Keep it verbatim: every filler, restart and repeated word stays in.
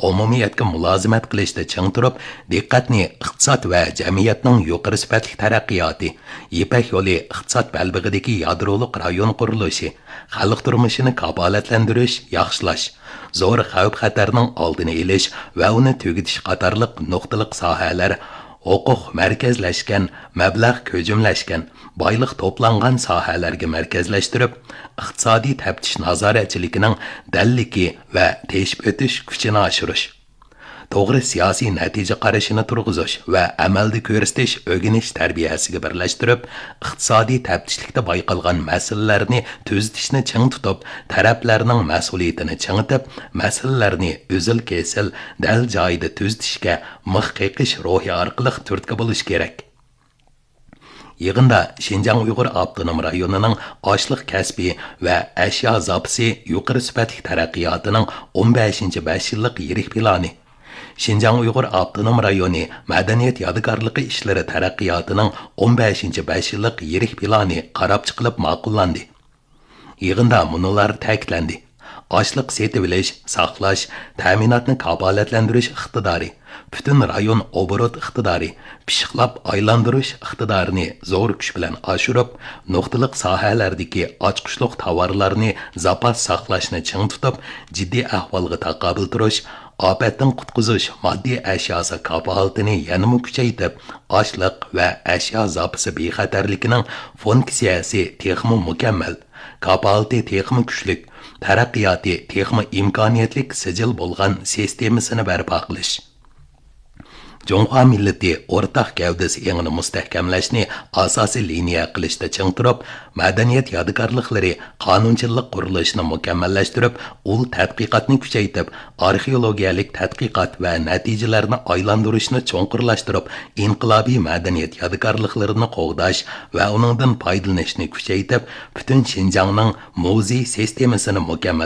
ئومۇمىيەتكە مۇلازىمەت قىلىشتا چىڭ تۇرۇپ، دىققەتنى ئىقتىساد ۋە جەمئىيەتنىڭ يۇقىرى سۈپەتلىك تەرەققىياتى، يىپەك يولى ئىقتىساد بەلبېغىدىكى يادرولۇق رايون قۇرۇلۇشى، خەلق تۇرمۇشىنى كاپالەتلەندۈرۈش، ياخشىلاش، زور خەۋپ-خەتەرنىڭ ئالدىنى ئېلىش ۋە ئۇنى تۈگىتىش قاتارلىق نۇقتىلىق ساھەلەر، ھوقۇق مەركەزلەشكەن، مەبلەغ كۆجۈملەشكەن، بايلىق توپلانغان ساھەلەرگە مەركەزلەشتۈرۈپ، ئىقتىسادىي تەپتىش نازارەتچىلىكىنىڭ دەللىكى ۋە تېشىپ ئۆتۈش كۈچىنى ئاشۇرۇش، توغرا سىياسىي نەتىجە قارىشىنى تۇرغۇزۇش ۋە ئەمەلدە كۆرسىتىش ئۆگىنىش تەربىيەسىگە بىرلەشتۈرۈپ، ئىقتىسادىي تەپتىشلىكتە بايقالغان مەسىلىلەرنى تۈزىتىشنى چىڭ تۇتۇپ، تەرەپلەرنىڭ مەسئۇلىيىتىنى چىڭىتىپ، مەسىلىلەرنى ئۈزۈل-كېسىل، دەل جايىدا تۈزىتىشكە مىخ قېقىش روھى ئارقىلىق تۈرتكە بولۇش كېرەك. يىغىندا شىنجاڭ ئۇيغۇر ئاپتونوم رايونىنىڭ ئاشلىق كەسپى ۋە ئەشيا زاپىسى يۇقىرى سۈپەتلىك تەرەققىياتىنىڭ ئون بەشىنچى بەش يىللىق يىرىك پىلانى، شىنجاڭ ئۇيغۇر ئاپتونوم رايونى مەدەنىيەت يادىكارلىقى ئىشلىرى تەرەققىياتىنىڭ ئون بەشىنچى بەش يىللىق يىرىك پىلانى قاراپ چىقىلىپ ماقۇللاندى. يىغىندا مۇنۇلار تەكىتلەندى: ئاشلىق سېتىۋېلىش، ساقلاش، تەمىناتنى كاپالەتلەندۈرۈش ئىقتىدارى، پۈتۈن رايون ئوبوروت ئىقتىدارى، پىششىقلاپ ئايلاندۇرۇش ئىقتىدارىنى زور كۈچ بىلەن ئاشۇرۇپ، نۇقتىلىق ساھەلەردىكى ئاچقۇچلۇق تاۋارلارنى زاپاس ساقلاشنى چىڭ تۇتۇپ، جىددىي ئەھۋالغا تاقابىل تۇرۇش، ئاپەتتىن قۇتقۇزۇش ماددىي ئەشياسى كاپالىتىنى يەنىمۇ كۈچەيتىپ، ئاشلىق ۋە ئەشيا زاپىسى بىخەتەرلىكىنىڭ فۇنكسىيەسى تېخىمۇ مۇكەممەل، كاپالىتى تېخىمۇ كۈچلۈك، تەرەققىياتى تېخىمۇ ئىمكانىيەتلىك سىجىل بولغان سىستېمىسىنى بەرپا قىلىش. جۇڭخۇا مىللىتى ئورتاق گەۋدىسى ئېڭىنى مۇستەھكەملەشنى ئاساسىي لىنىيە قىلىشتا چىڭ تۇرۇپ، مەدەنىيەت يادىكارلىقلىرى قانۇنچىلىق قۇرۇلۇشىنى مۇكەممەللەشتۈرۈپ، ئۇل تەتقىقاتنى كۈچەيتىپ، ئارخېئولوگىيەلىك تەتقىقات ۋە نەتىجىلەرنى ئايلاندۇرۇشنى چوڭقۇرلاشتۇرۇپ، ئىنقىلابىي مەدەنىيەت يادىكارلىقلىرىنى قوغداش ۋە ئۇنىڭدىن پايدىلىنىشنى كۈچەيتىپ، پۈتۈن شىنجاڭنىڭ مۇزېي سىستېمىسىنى مۇكەممەل